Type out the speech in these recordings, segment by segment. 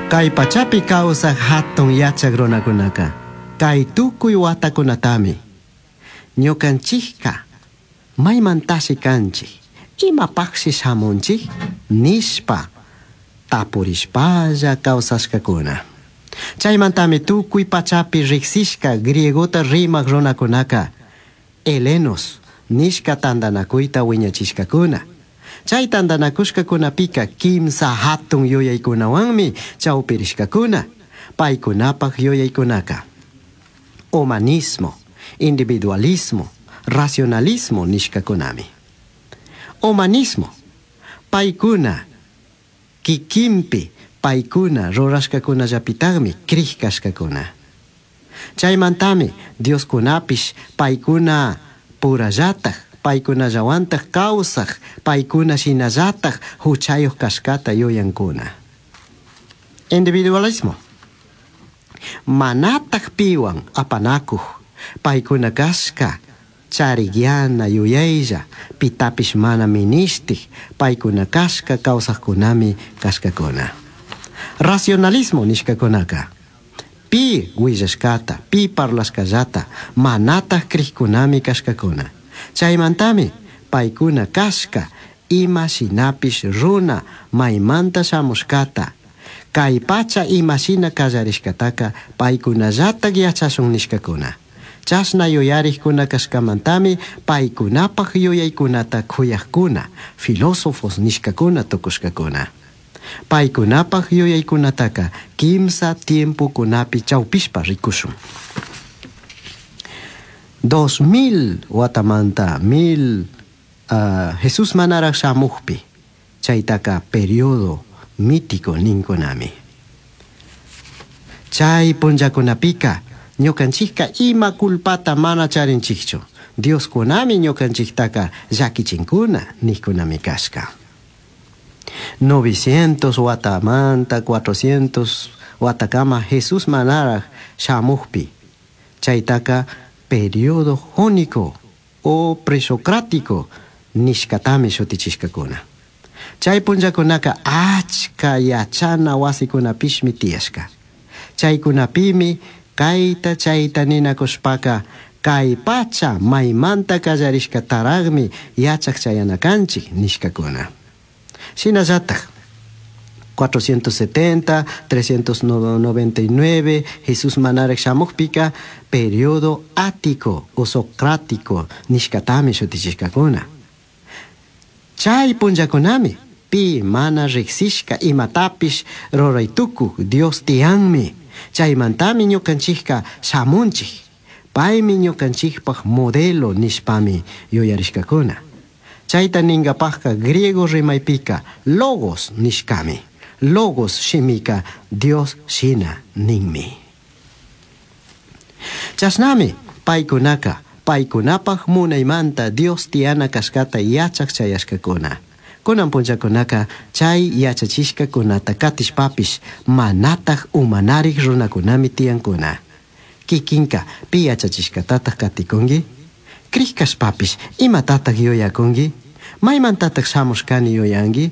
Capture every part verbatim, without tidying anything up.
Kay pachapi kawsaq hatun yachaq runakunaka kay tukuy watakunatami ñukanchikka maymantashi kanchik imapaqshi shamunchik nishpa tapurishpalla kawsashkakuna. Chaymantami tukuy pachapi riqsishka griegota rimaq runakunaka helenos nishka tantanakuyta wiñachishkakuna. Chay tantanakushkakunapika kimsa hatun yuyaykunawanmi chawpirishkakuna. Paykunapaq yuyaykunaka humanismo, individualismo, racionalismo nishkakunami. Humanismo, paykuna kikinpi paykuna rurashkakunallapitaqmi kriq kashkakuna. Chaymantami Dioskunapish paykuna purallataq paykunallawantaq kawsaq paykuna shinallataq huchayuq kashkata yuyankuna. Individualismo, manataq piwan apanakuq paykuna kashka charikyana yuyaylla pitapish mana minishtik paykuna kashka kawsaqkunami kashkakuna. Racionalismo nishkakunaka pi willashkata pi parlashkallata manataq krikkunami kashkakuna. Chaymantami paykuna kashka ima shinapish runa maymanta shamushkata kay pacha ima shina kallarishkataka paykunallatak yachashun nishkakuna. Chashna yuyarikkuna kashkamantami paykunapaq yuyaykunata kuyaqkuna filósofos nishkakuna tukushkakuna. Paykunapaq yuyaykunataka kimsa tiempokunapi chawpishpa rikushun. Dos mil watamanta mil uh, Jesús manaraq shamuqpi chaytaka periodo mítico ninkunami. Chay punllakunapika ñukanchikka ima culpata mana charinchikchu. Dioskunami ñukanchiktaka llakichinkuna niqkunami kashka. Novecientos watamanta cuatrocientos watakama Jesús manaraq shamuqpi chaytaka periodo jónico o presocrático nishkatami shutichishkakuna. Chay punllakunaka achka yachana wasikunapishmi tiyashka. Chaykunapimi kayta chayta ninakushpaka kay pacha maymanta kallarishkataraqmi yachaq chayana kanchik nishkakuna. Shinallatak cuatrocientos setenta, trescientos noventa y nueve Jesús manaraq shamuqpika periodo ático o socrático nishkatami shutichishkakuna. Chay punllakunami pi mana riqsishka imatapish ruraytukuq Dios tiyanmi. Chaymantami ñukanchikka shamunchik. Paymi ñukanchikpaq modelo nishpami yuyarishkakuna. Chayta ninkapaqka griego rimaypika logos nishkami. Logos shimika Dios shina ninmi. Chashnami paykunaka paykunapaq munaymanta Dios tiyana kashkata yachaq chayashkakuna. Kunan punllakunaka chay yachachishkakunata katishpapish manataq umanarik runakunami tiyankuna. Kikinka pi yachachishkatataq katikunki? Kriq kashpapish imatataq yuyakunki? Maymantataq shamushkani yuyanki?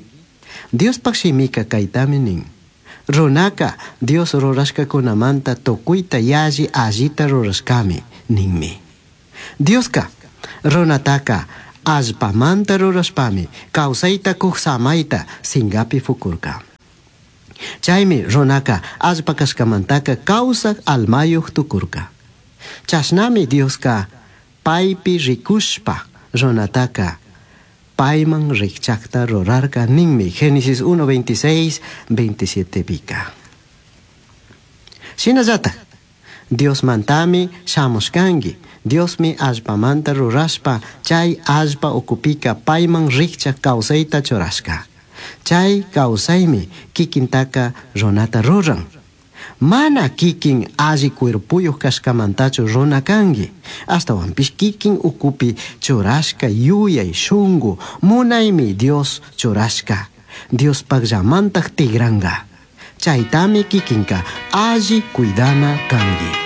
Diospaq shimika kaytami nin. Runaka Dios rurashkakunamanta tukuyta yalli allita rurashkami ninmi. Dioska runataka allpamanta rurashpami kawsayta kuq samayta singapi fukurka. Chaymi runaka allpa kashkamantaka kawsaq almayuq tukurka. Chashnami Dioska paypi rikushpa runataka payman rikchaqta rurarka ninmi. Génesis uno, veintiséis, veintisiete pika. Shinallatak Diosmantami shamushkanki. Diosmi allpamanta rurashpa chay allpa ukupika payman rikchaq kawsayta churashka. Chay kawsaymi kikintaka runata ruran. Mana kikin alli cuerpuyuq kashkamantachu runa kanki. Ashtawanpish kikin ukupi churashka yuyay shunku munaymi Dios churashka. Diospaqllamantaq tigranga. Chaytami kikinka alli cuidana kanki.